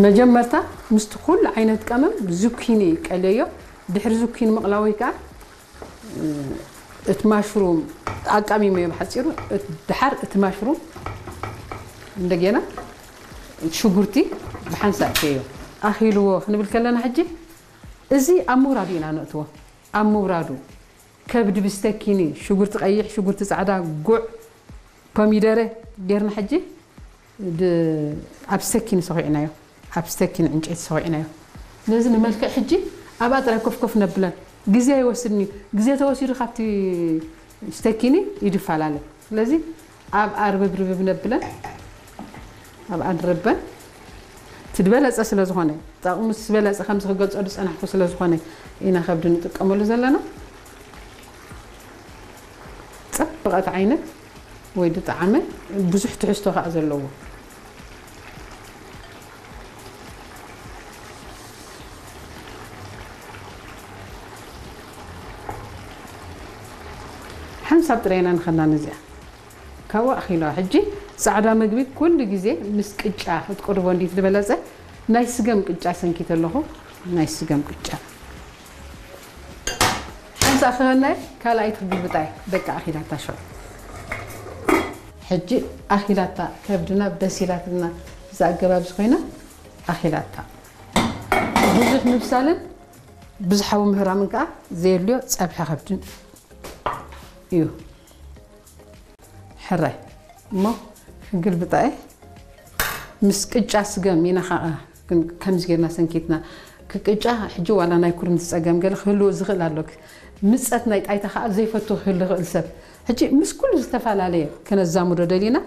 መጀመርታ ምስቲ ኩሉ ዓይነት ቀመም ዙኪኒ ቀለዮ። ድሕሪ ዙኪኒ ምቕላወይ ከዓ እቲ ማሽሩም ኣቃሚመዮ ብሓፂሩ። ድሓር እቲ ማሽሩም እንደገና ሽጉርቲ ብሓንሳእ እተዮ። ኣኺልዎ ክንብል ከለና ሕጂ እዚ ኣብ ምውራዱ ኢና ነእትዎ። ኣብ ምውራዱ ከብዲ ብስተኪኒ፣ ሽጉርቲ ቀይሕ፣ ሽጉርቲ ፃዕዳ፣ ጉዕ፣ ኮሚደረ ጌርና ሕጂ ድ- ኣብ ስተኪኒ ሰኺዕናዮ። ኣብ ስተኪኒ ዕንጨይቲ ሰኺዕናዮ። ስለዚ ንመልክዕ ሕጂ ኣብኣ ጥራይ ኮፍ ኮፍ ነብለን። ግዜ ኣይወስድን እዩ። ግዜ ተወሲዱ ካብቲ ስተኪኒ ይድፈላለ። ስለዚ ኣብ ኣርብብ ርብብ ነብለን። ኣብ ኣንረበን ትድበለጸ ስለ ዝኾነ፣ ጠቕሙ ዝበለጸ ከምዚ ክገልጾ ዝጸናሕኩ ስለ ዝኾነ ኢና ከብዲ ንጥቀመሉ ዘለና። ጽብቐት ዓይነት ወይ ድጣዕመ ብዙሕ ትሕዝቶ ከኣ ዘለዎ። ሓንሳብ ጥራይና ንኸና ነዚኣ ካብኡ ኣኺለዋ። ሕጂ ጻዕዳ መግቢ ኩሉ ግዜ ምስ ቅጫ ክትቅርቦ እንዲ ዝበለጸ ናይ ስገም ቅጫ ሰንኪት ኣለኹ። ናይ ስገም ቅጫ ሓንሳ ክኸናይ ካልኣይቲ ክግልብጣይ ደቂ ኣኺላታ ሸው። ሕጂ ኣኺላታ ከብድና በሲላትና እዛ ኣገባብ ዝኾይና ኣኺላታ ብዙሕ ምብሳልን ብዙሓዊ ምህራምን ከዓ ዘየድልዮ ጸብሒ ከብድን እዩ። ሕራይ እሞ ክግልብጣ እየ። ምስ ቅጫ ስገም ኢና ከዓ ግን ከምዚ ጌርና ሰንኪትና ክቅጫ ሕጂ ዋላ ናይ ኩርምቲ ጸገም ገለ ክህልዎ ዝኽእል ኣሎ። ምጸት ናይ ጣይታ ከዓ ዘይፈቱ ክህል ዝኽእል ሰብ ሕጂ ምስ ኩሉ ዝተፈላለየ ከነዛምዶ ደሊና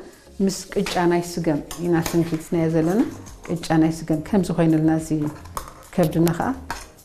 ምስ ቅጫ ናይ ስገም ኢና ሰንኪትናዮ ዘለና። ቅጫ ናይ ስገም ከምዚ ኮይንልና እዚ ከብድና ከዓ